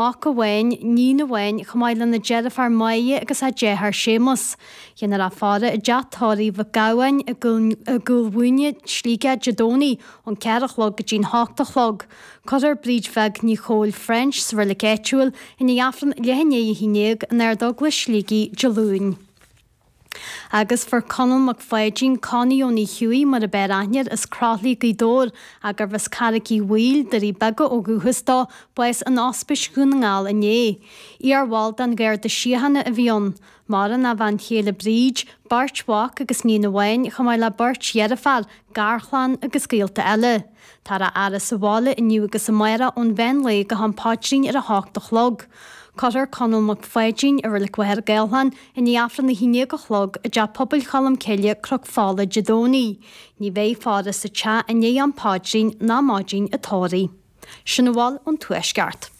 Mac amháin, níon amháin, chomh maith lena deirfiúr Máire agus a deartháir Séamus. Déanfar a faire i dteach tórraimh Mhic Gabhann i gCúil Mhúine, Sligeach, Dé Domhnaigh ón 4 a chlog go dtí'n 8 a chlog. Cuirfear Bríd Bheag Ní Chóill French sa reilig áitiúil i ndiaidh Aifreann leath i ndiaidh 11 in Ard-Eaglais Shligigh Dé Luain. Agus fuair Conall Mac Pháidín, Connie Ó Ní Chuaigh mar ab fhearr aithne air, as Croithlí, Gaoth Dobhair, ach gurbh as Carraig Uí Bhaoill, Doirí Beaga ó dhúchas dó, bás in Ospís Dhún na nGall inné. Iar-bhall den Gharda Síochána a bhí ann. Maireann a bhean chéile Bríd, beirt mhac agus níon amháin, chomh maith le beirt dheirféar, garchlann agus gaolta eile. Táthar á fhaire sa bhaile inniu agus amárach ón mheán lae go ham paidrín ar a hocht a chlog. Cuirfear Conall Mac Pháidín i Reilig Mhachaire Gathlán i ndiaidh Aifreann 11 a chlog i dTeach Pobail Cholm Cille, Cnoc Fola, Dé Domhnaigh. Ní bheidh faire sa teach i ndiaidh am paidrín ná maidin an tórraimh. Sin a bhfuil ón Tuaisceart.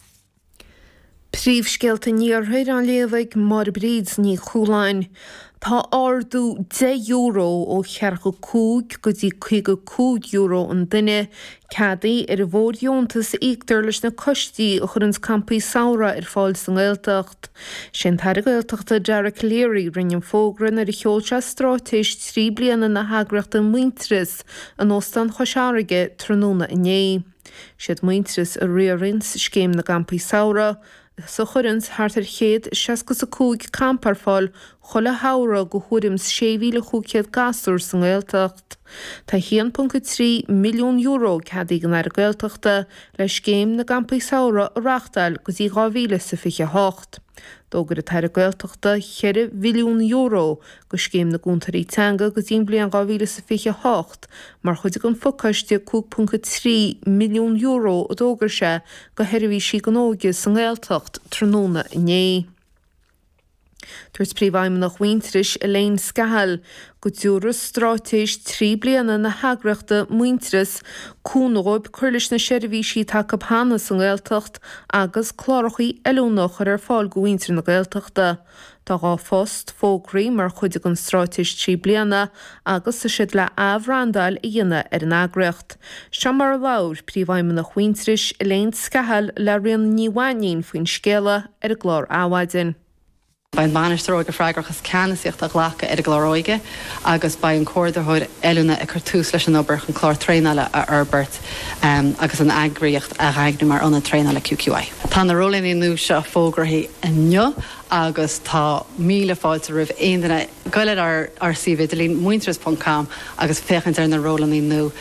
Príomhscéalta an Iarthair á léamh ag Máire Bríd Ní Chualáin. Tá ardú €10 ó €45 go dtí €55 an duine ceadaithe ar an bhfóirdheontas a íoctar leis na coistí a chuireanns campaí samhraidh ar fáil sa nGaeltacht. Sé an tAire Gaeltachta Dara Calleary a rinne an fógra nuair a sheol sé straitéis 3 bliana na heagraíochta Muintearas in Óstán Chois Fharraige tráthnóna inné. Siad Muintearas a riaranns Scéim na gCampaí Samhraidh is a chuireanns thart ar 165 campa ar fáil chuile shamhradh go thuairim 's 6,500 gasúr sa nGaeltacht. Tá €1.3 milliún ceadaithe ag an Aire Gaeltachta le Scéim na gCampaí Samhraidh a reachtáil go dtí 2028. D'fhógair an tAire Gaeltachta €4 mhilliún go Scéim na gCúntóirí Teanga go dtí an bhliain 2028 mar chuid den phacáiste €5.3 milliún a d'fhógair sé go sheirbhísí don óige sa nGaeltacht tráthnóna inné. Dúirt Príomhfheidhmeannach Mhuintearais, Elaine Scahill, go dtabharfaidh straitéis 3 bliana na heagraíochta Muintearas cúnamh dhóibh cur leis na seirbhísí atá acu cheana sa nGaeltacht agus clárachaí oiliúna a chur ar fáil go mhuintir na Gaeltachta. Tá 2 phost fógraithe mar chuid den straitéis 3 bliana agus tá siad le athbhrandáil a dhéanamh ar an eagraíocht. Seo mar a labhair Príomhfheidhmeannach Mhuintearais, Elaine Scahill le Ríona Ní Mhainín faoin scéala ar an gclár Adhmhaidin. Beidh an Bainisteoir Óige freagrach as ceannasaíocht a ghlacadh ar an gclár óige agus beidh an Comhordaitheoir Oiliúna ag cur tús leis an obair chun clár traenála a fhorbairt agus an eagraíocht a dhaingniú mar ionad traenála QQI. Tá na rólanna nua seo fógraithe inniu agus tá míle fáilte roimh aon duine goil ar ár suíomh idirlín, muintearas ponc com, agus féachaint ar na rólanna nua.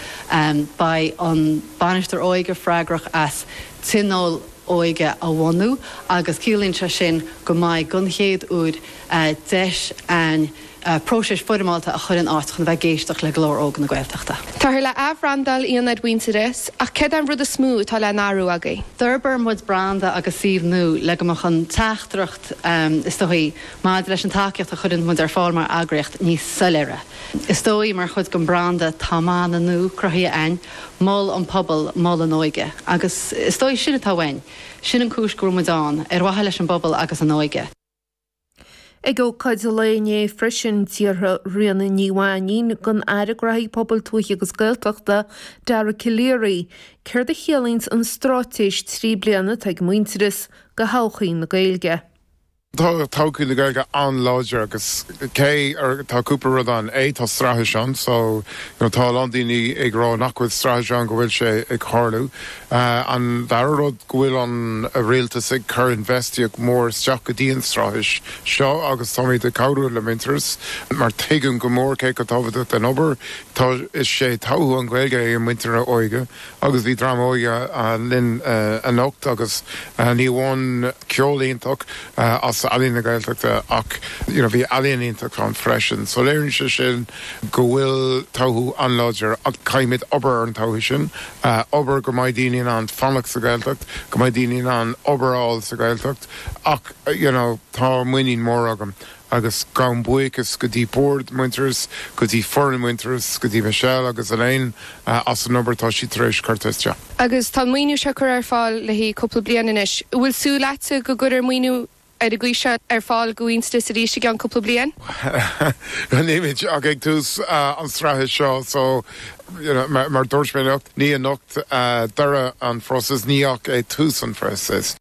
Beidh an Bainisteoir Óige freagrach as tionól óige a bhunú agus ciallaíonn sé sin go mbeidh, don chéad uair, deis a'inn próiseas foirmeálta a chur in áit chun a bheith ag éisteacht le glór óg na Gaeltachta. Táthar le athbhrandáil Ionaid Mhuintearais, ach céard é an rud is mó atá le n-athrú agaibh? D'fhorbair muid branda agus suíomh nua le go mbeadh an teachtaireacht, is dóigh, maidir leis an tacaíocht a chuireann muid ar fáil mar eagraíocht níos soiléire. Is dóigh, mar chuid den branda, tá mana nua cruthaithe a'inn, Mol an Pobal, Mol an Óige. Agus is dóigh sin atá uainn. Sin an cúis go bhfuil muid ann, ar mhaithe leis an bpobal agus an óige. Ag ócáid an lae inné freisin, d'iarr Ríona Ní Mhainín den Aire Gnóthaí Pobail Tuaithe agus Gaeltachta, Dara Calleary, céard a chiallaíonns an straitéis 3 bliana atá ag Muintearas do thodhchaí na Gaeilge. Tá todhchaí na Gaeilge an-láidir agus cé tá cúpla rud ann. A, tá straitéis ann so you know tá a lán daoine ag rá nach bhfuil straitéis ann go bhfuil sé ag tarlú. An dara rud, go bhfuil an rialtas ag cur infheistíocht mór isteach go dtí an straitéis seo agus táimid ag cabhrú le Muintearas mar tuigim go mór cé chomh tábhachtach den obair tá is sé todhchaí an Ghaeilge é muintir na óige agus bhí dream óige linn anocht agus ní amháin ceol iontach as Ealaín na Gaeltachta ach you know bhí ealaíon iontach ann freisin so léiríonn sé sin go bhfuil todhchaí an-láidir ach caithfimid obair ar an todhchaí sin, obair go mbeidh daoine in ann fanacht sa Ghaeltacht, go mbeidh daoine in ann obair a fháil sa Ghaeltacht ach you know tá muinín mór agam agus gabhaim buíochas go dtí bord Muintearas, go dtí foireann Muintearas, go dtí Michelle agus Elaine as an obair atá siad tar éis cur isteach. Agus tá an maoiniú seo curtha ar fáil le haghaidh cúpla bliain anois. An bhfuil súil agatsa go gcuirfear maoiniú ar an gcaoi seo ar fáil go Mhuintearas arís i gceann cúpla bliain. Nílimid ach ag tús an straitéis seo so you know mar dúirt mé anocht, ní anocht deireadh an phróisis, ní ach é tús an phróisis.